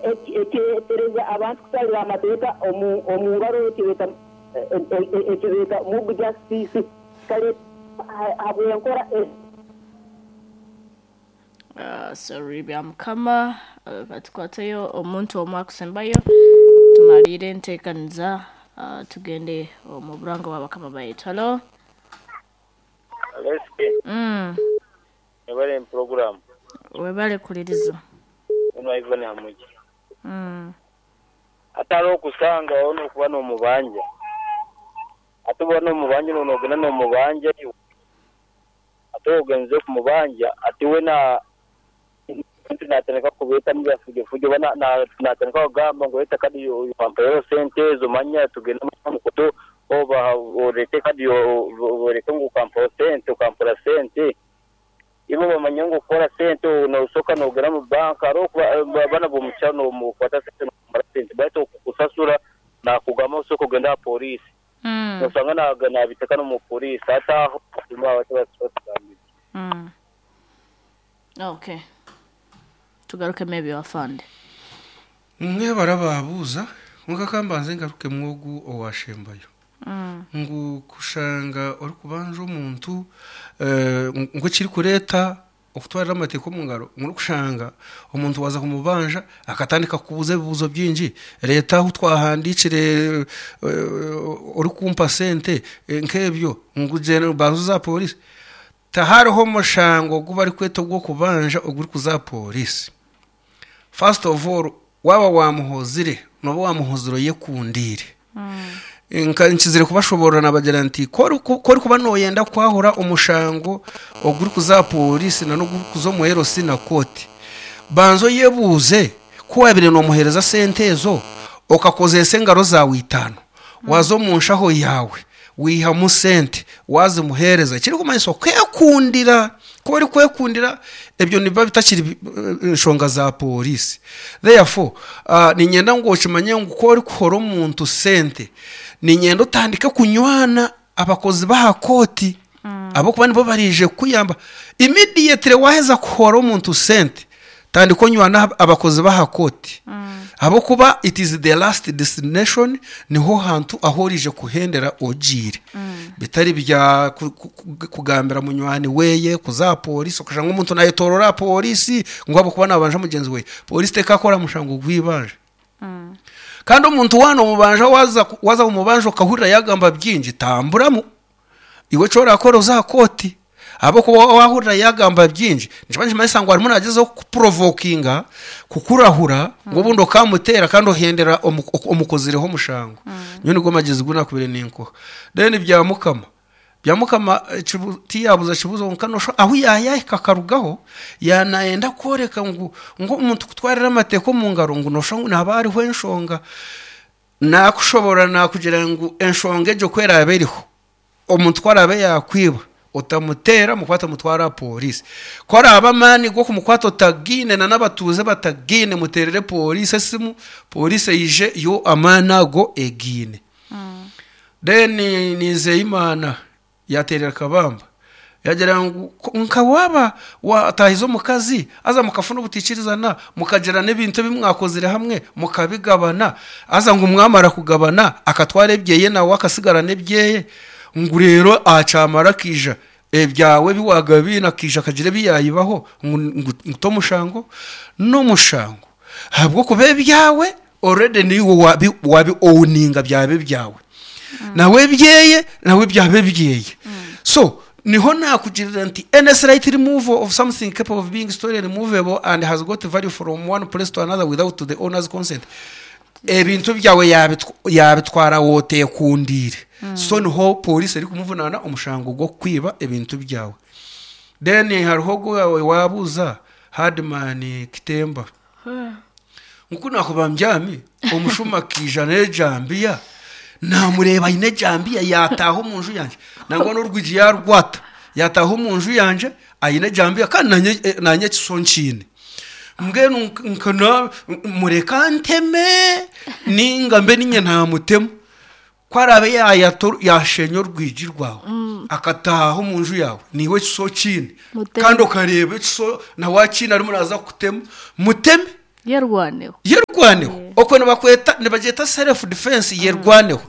Ekireetereza abantu kutwarira amateeka omu ngaro eki beeta mob justice kikareetwa ahabw'enkora egi. Sorry Byamukama katukwateyo omuntu omwe akusembayo tumariire entekaniza tugende omu burango bwa bakama baitu. Halo. Aleske webale pulogulaamu. Webale kuliriza. Ono Ivan Hamugi. Atari okusanga nokuba nomubanja. Ate bwoba nomubanja nogenda nomubanja iwe. Ate ogenze kumubanja ate wena natandika kubetamu ebya fujo fujo oba natandika kugamba ngu leta kadi wampaire esente ezo manya tugende omukutu oba orete kadi oreke ngu okampaho sente okampora sente. Ibo bamanya ngu okukora sente nosoka nogenda omu banka hariho abaana bomukyaro nokwata sente nomara sente baitu okukusasura nakugamba ngu soka ogende aha polisi. Nosanga nabiteka nomu polisi hati aho batugambire. Okay. Tugarukemu ebyo afande. Mwebare ababuuza, kwonka ka mbanze ngarukemu ogu owaashembayo. Ngu kushanga orikubanja omuntu ngu ekirikureeta okutwarira amateeka omu ngaro ngu n'okushanga omuntu waaza kumubanja akatandika kukubuuza ebibuuzo bingi, reeta ahu twahandiikire orikumpa sente nk'ebyo ngu gyenda banza oze aha pooriisi. Tihariho mushango ogu barikweta ogw'okubanja ogurikuza aha pooriisi. First of all waaba waamuhozire nooba waamuhozire oyekundiire. Nka nkizire kubashoboorora naabagira nti ku orikuba nooyenda kwahura omushango ogurikuza aha pooriisi n'ogurikuza omu LC na kooti, banza oyebuuze ku waabaire noomuheereza sente ezo okakozeesa engaro zaawe itaano, waaza omu nshaho yaawe waihamu sente waazimuheereza, ekirikumanyisa okeekundira. Ku orikwekundira ebyo nibiba bitakiri nshonga za pooriisi. Therefore, niinyenda ngu okimanye ngu ku orikuhora omuntu sente, niinyenda otandike kunywana abakozi b'aha kooti ahabw'okuba nibo baraije kukuyamba. Immediately waaheza kuhora omuntu sente, Tandika onywane abakozi b'aha kooti ahabw'okuba it is the last destination niho hantu ahu oraije kuhendera ogiire bitari bya kugambira munywani weeye kuza aha pooriisi okashanga omuntu naayetoorora aha pooriisi ngu ahabw'okuba naabanja mugyenzi weeye. Pooriisi tekaakora mushango gw'eibanja. Kandi omuntu waaba noomubanja waaza kumubanja okahurira yaagamba bingi tamburamu. Iwe eki orakora oze aha kooti ahabw'okuba waahurira yaagamba bingi nikiba nikimanyisa ngu arimu naagyezaho kukupurovokinga kukurahura ngu obundi okaamuteera kandi ohendera omukozireho omushango. Nyowe nigo magyezi agu naakubaire ninkuha. Then Byamukama, Byamukama tiyaabuza kibuuzo kwonka noshusha ahu yaayahika akarugaho yaaba naayenda kworeka ngu omuntu kutwarira amateeka omu ngaro ngu noshusha ngu nihaba hariho enshonga. Naakushoboorora naakugira ngu enshonga egyo ku eraabe eriho, omuntu ku araabe yaakwiba, otamuteera, mukwate omutware aha pooriisi. Ku araabe amaani g'okumukwata otagaine na n'abatuuze batagaine, muteerere pooriisi esimu, pooriisi eije yo amaani ago egaine. Then Nizeyimana Yaateerera kabamba, yaagira ngu, Nka waaba waataahize omukazi, haza mukafuna obutaikirizana, mukagira n'ebintu ebi mwakozire hamwe mukabigabana, haza ngu mwamara kugabana akatwara ebyeye nawe akasigara n'ebyeye, ngu reero akyamara akaija ebyawe ebi waagabiine akaija akagira ebi yaayibaho, ngu t'omushango? N'omushango ahabw'okuba ebyawe already niiwe waabi waabi owuninga byaba ebyawe nawe ebyeye nawe byaba ebyeye so niho naakugirira nti any slight removal of something capable of being stolen movable and has got value from one place to another without the owner's consent ebintu byawe yaabitw- yaabitwara wooteekundiire so niho pooriisi erikumuvunaana omushango gw'okukwiba ebintu byawe then hariho ogu waabuuza Hardman Kitemba. Ngu ku naakuba mbyami, omushuma akaija n'ejambiya, naamureeba aine ejambiya yaataaha omu nju yangye, nangwa n'orwigi yaarwata, yaataaha omu nju yangye aine ejambiya kandi naanye naanye ekiso nkiine. Mbwenu nka na mureke anteme nainga mbe niinye naamutema. Ku araabe yaashenya orwigi rwawe akataaha omu nju yaawe, naiwe ekiso okiine, Muteme. kandi okareeba ekiso nawe akiine arimu naaza kukutema, muteme. Yerwaneho. Yerwaneho. Okwo nibakweta nibagyeta self defense yerwaneho.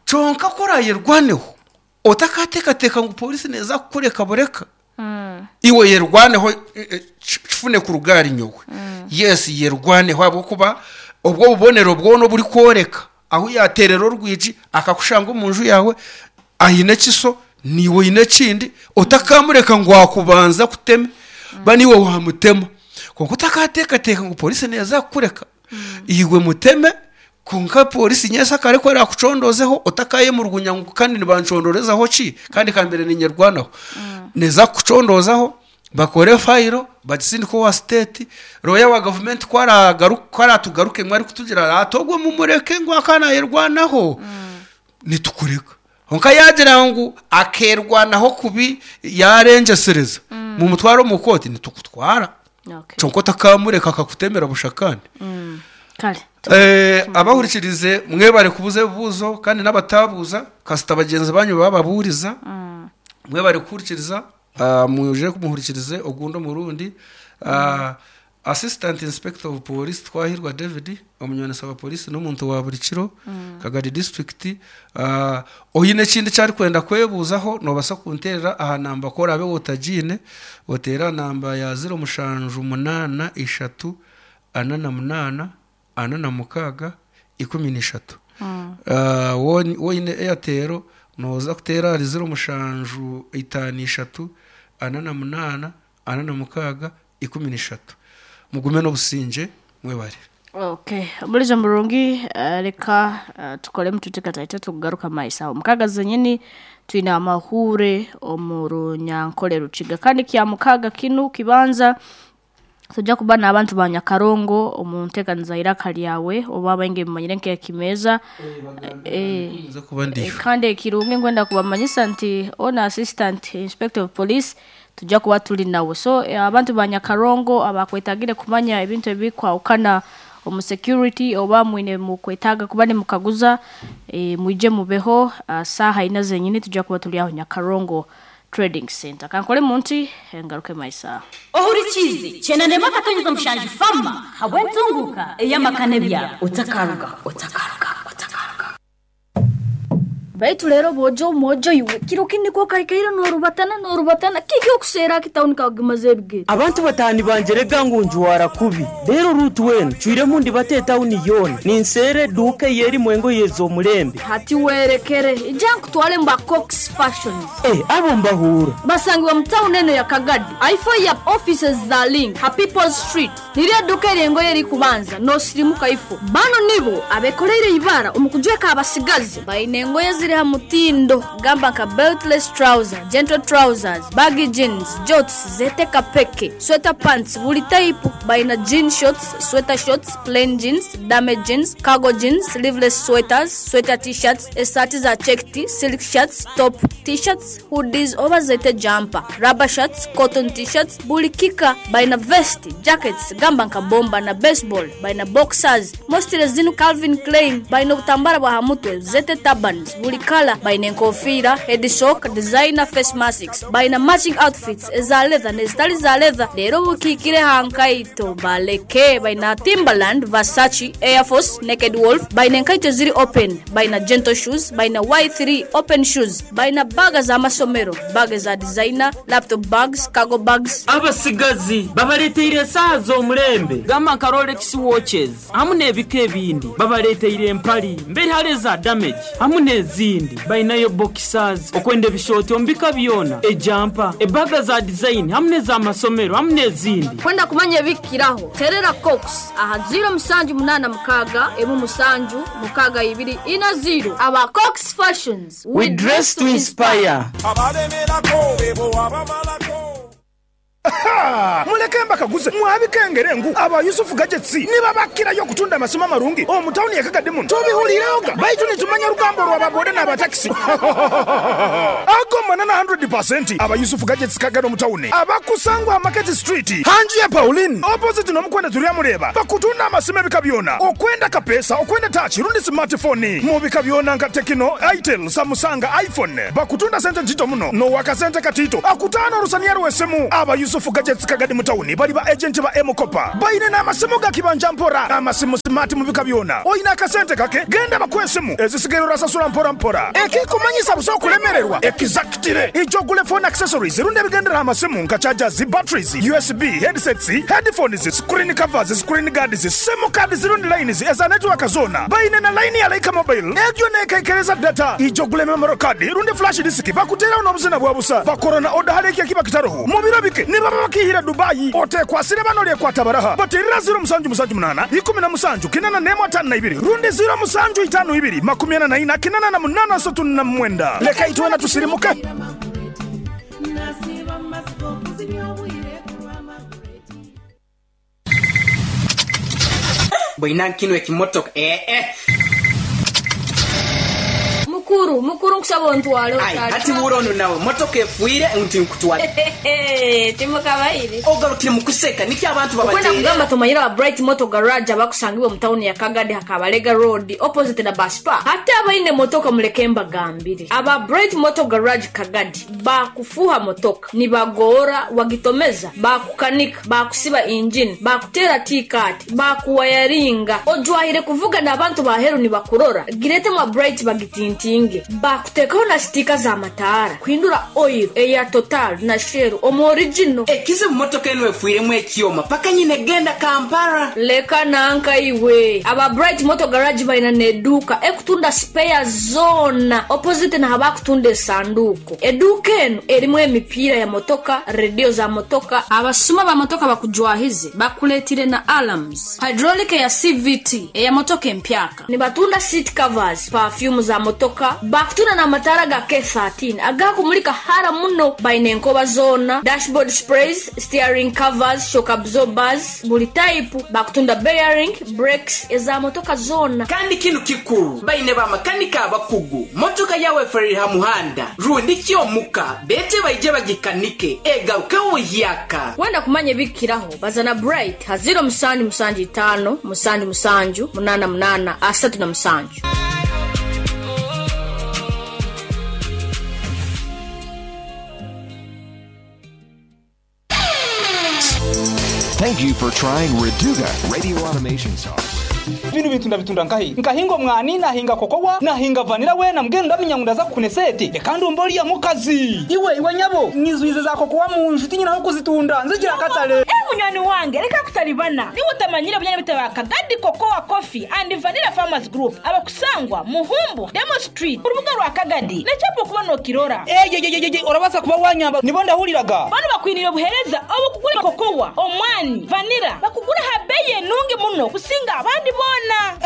Kyonka ku orayerwaneho otakateekateeka ngu polisi neeza kukureka bureka. Iwe yerwaneho kifune kuruga ahari nyowe. Yes yerwaneho ahabw'okuba obwo obubonero bwona oburikworeka ahu yaateerera orwigi akakushanga omu nju yaawe aine ekiso naiwe oine ekindi otakamureka ngu akubanze akuteme ba niiwe waamutema. Kwonka otakateekateeka ngu pooriisi neeza kukureka, iwe muteme kwonka pooriisi nyensyakare ku eraakucondoozeho otakayemurugunya ngu kandi nibancondoorezaho ki kandi ka mbaire niinyerwanaho. Neeza kukucondoozaho bakore fayiro bagisindike owa siteeti, rooya wa gavumenti ku aratugarukemu arikutugira ati ogwo mumureke ngu akaba naayerwanaho, nitukureka. Kwonka yaagira ngu akeerwanaho kubi yaarengyesereza, mumutware omu kooti, nitukutwara. Okay. Kyonka otakamureka akakutemera busha kandi. Kare. Abahurikirize mwebare kubuuza ebibuuzo kandi n'abataabuuza kasita bagyenzi banyu baababuuriza. Mwebare kuhurikiriza, mwije muhurikirize ogundi omurundi. Assistant Inspector of Police Twahirwa David, omunywanisa wa Police n'omuntu wa buri kiro, Kagadi District. Oine ekindi eki arikwenda kwebuuzaho noobaasa kunteerera aha namba ku oraabe otagiine, oteere aha namba ya ziro mushanju munaana ishatu ana na munaana ana na mukaaga ikumi na ishatu. Waaba oine Airtel nooza kuteera ahari ziro mushanju itaano ishatu ana na munaana 46 13. Mugume n'obusingye. Mwebare. Okay, omurizo murungi reka tukoremu tuti kataito tukugaruka maiso aho mukaga zenyini twine amahure omu runyankore rukiga kandi kya mukaga kinu kibanza tujja kuba n'abantu ba Nyakarongo omu nteekaniza y'eiraka ryawe oba abaingi mumanyire nk'ekimeeza Nza kuba ndiyo. Kandi ekirungi nkwenda kubamanyisa nti ona assistant inspector of police tujja kuba turi nawe. So abantu ba Nyakarongo abakwetagire kumanya ebintu ebikwahukana omu security oba mwine mukwetaaga kuba nimukaguza mwije mubeho saaha ina zenyini tujja kuba turi aho Nyakarongo Trading Center. Kankore munti ngaruke maiso aho. Ohurikiize, Kyenanemu akatonyeza mushanju Fama habw'entunguuka ey'amaka n'ebyaro. Otakaruga, otakaruga, otakaruga. Baitu reero boojo mwojo iwe, kiro kindi ku okaikaire noorubatana noorubatana, kiki okuseera aki tawuni kakugimaza ebigere? Abantu bataani bangye rega ngu njwara kubi. Reero Ruth weena ncwiremu ndibate etawuni yoona, ninseera eduuka ei erimu engoye ez'omurembe. Hati werekere, ija nkutware omu ba Cox Fashions. Eh, abo mbahuura. Basangibwa mu tawuni eno ya Kagadi, ahaifo ya offices za Link ha People's Street. Niryo eduuka ery'engoye erikubanza noosirimuka ifo. Banu nibo abekoreire eibara omu kujweka abasigazi. Baine engoye eziri ha mutindo gamba nka beltless trouser, gentle trousers, baggy jeans, jorts, zeete kapeke, sweater pants buri taipu. Baine jean shorts, sweater shorts, plain jeans, dame jeans, cargo jeans, sleeveless sweaters, sweater t-shirts, esaati za checked, silk shirts, top t-shirts, hoodies oba zeete jumper, rubber shirts, cotton t-shirts, buri kika. Baine vest, jackets gamba nka bomba na baseball, baine boxers, mostly zinu Calvin Klein, baine obutambara bw'aha mutwe, zeete turbans, buri kala, baine enkofiira, head sock, designer face masks, baine matching outfits eza leather n'ezitari za leather, reero obukiikire aha nkaito baleke, baine Timberland, Versace, Air Force, Naked Wolf, baine enkaito eziri open, baine gentle shoes, baine Y3 open shoes, baine baaga z'amasomero, baaga eza designer, laptop bags, cargo bags. Abatsigazi babareeteire esaaha z'omurembe gamba nka Rolex watches hamu n'ebika ebindi. Babareeteire empari mberi hare eza damage hamu n'ezindi. Bainayo boxers, okwenda ebishooti omu bika byona, ejampa, ebaga za design hamu n'ezamasomero hamu n'ezindi. Kwenda kumanya ebikukiraho, terera Cox aha ziiro mushanju munaana mukaaga, emwe mushanju, mukaaga ibiri, ina ziiro. Aba Cox Fashions, We dress to inspire. Muleke mbakaguze mwabikengere ngu aba Yusuf Gadgets nibabakirayo okutunda amasimu amarungi omu tawuni ye Kagadi muno. Tubihuliiregho baitu nitumanya orugambo rwa ba boda n'aba takisi. Ago manana hundred pasenti. Aba Yusuf Gadgets Kagadi omu tawuni abakusangwa aha Market Street hanju ya Pauline opposite n'omukwenda Turyamureeba bakutunda amasimu ebika byona okwenda kapeesa, okwenda tachi rundi smart phone mu bika byona nka Tecno, Itel, Samusanga, iPhone. Bakutunda sente ntito muno n'owakasente katito akutaana orusaniya rw'esimu. Aba Yusuf. Yusufu Gadgets Kagadi mu tawuni bali ba agenti ba M-Kopa. Baine n'amasimu ga kibanja mpora, amasimu simaati mu bika byona. Oine akasente kake, genda bakuhe esimu, ezisigaire orasasura mpora mpora. Ekikumanyisa busa okulemererwa, ekizakitire. Ija ogule phone accessories rundi ebigendera aha masimu nka chargers, batteries, USB, headsets, headphones, screen covers, screen guards, simu cards rundi lines eza network zoona. Baine na line ya Lyca Mobile egyo neekaikereza data. Ija ogule memory card rundi flash disk bakuteeraho n'obuzina bwa busa. Bakora na oda hare eki ekiba kitaroho. Mu biro bike nibaba bakiihire Dubai. Oteekwasire bano oryekwata baraha. Bateerera 0778 17 8152 rundi 0752 44 88 39. Leka itwena tusirimuke. Boina nkino ekimotoka eeh. Mukuru, mukuru nkusaba ontwale Aye otali. hati wuura ono nawe motoka efwire nti nkutwale. Timukabaire. Ogarukire mukuseka nikyo abantu Okwenda babateera. kugamba tumanyire aba Bright Motor Garage abakusangibwa omu tawuni ya Kagadi ha Kabalega Road opposite na bus park. Hati abaine motoka muleke mbagambire. Aba Bright Motor Garage Kagadi bakufuha motoka, nibagoora wagitomeza, bakukanika, bakusiba engine, bakuteera T-cut, bakuwayaringa. Ojwahire kuvuga n'abantu baheru nibakurora. Girete mwa Bright bagitintinge. Bakuteekaho na sitika za mataara, kuhindura oil eya Total na Shell omu original. Ekizibu motoka enu efwiremu ekyoma paka nyine genda Kampala. Leka nanka iwe. Aba Bright Motor Garage baina n'eduuka ekutunda spare zoona opposite na habakutunda esanduuko. Eduuka enu erimu emipiira ya motoka, rediyo za motoka. Abasuma ba motoka bakujwahize bakuleetire na alarms, hydraulic eya CVT eya motoka empyaka. Nibatunda seat covers, perfume za motoka, bakutunda n'amataara ga K13 agakumulika hara muno. Baine enkoba zoona, dashboard sprays, steering covers, shock absorbers, buli type. Bakutunda bearing, brakes eza motoka zoona. Kandi kinu kikuru baine bamakanika abakugu motoka yawe efwerire ha muhanda rundi kyomuka bete baije bagikanike egarukeho buhyaka. Wenda kumanya ebikiraho bazana Bright ha 0775 77 88 37. Thank you for trying Reduga Radio Automation Software. Bino bintu ndabitunda nkahi nkahinga omwani nahinga kokowa nahinga vanira wena mbwenu ndamenya ngu ndaza kukuna esente reka ndumva oriya mukazi iwe iwe nyabo nyizwize za kokowa mu nju tinyine aho kuzitunda nzigira akatare. Eh, munywani wange reka kutalibana niwe utamanyire bunyana bitaba Kagadi Cocoa Coffee and Vanilla Farmers Group abakusangwa Muhumbu Demo Street urubuga rwa Kagadi nechapo kuba nokirora. Eyeyeyeye orabasa kuba wanyamba nibo ndahuriraga. Bano bakwinire obuhereza obukugura kokowa omwani vanilla bakugura ha bei enungi muno kusinga abandi bona.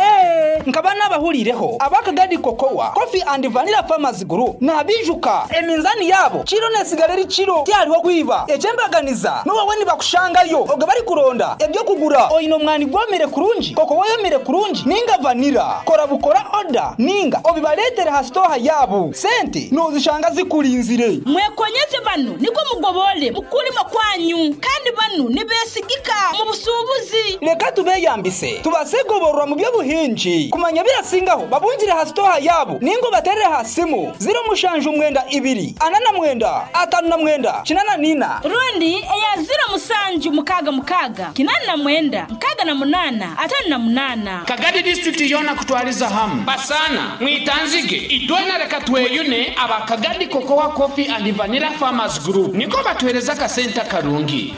Eh, nkaba nabahurireho abakagadi Cocoa Coffee and Vanilla Farmers Group nabijuka eminzani yabo kiro nesigara eri kiro tyariho kwiba ekyembaganiza nuwawe nibakushangayo oga bari kuronda ebyo kugura oine omwani gwomire kurungi kokowa yomire kurungi ninga vanilla kora bukora oda ninga obibaretere ha stoha yabo sente nozishanga zikurinzire. Mwekonyeze bano niko mugobole mukulima kwanyu kandi bano nibesigika mu busubuzi. Reka tubeyambise tubasegoborwa mu by'obuhingi kumanya birasingaho babungire ha stoha yabo ningo baterere ha simu 079 49 59 84. Rundi eya 0766 89 68 58. Kagadi district yona kutwaliza hamu basana mwitanzige itwena reka tweyune aba Kagadi Cocoa Coffee and Vanilla Farmers Group niko batwereza akasente karungi.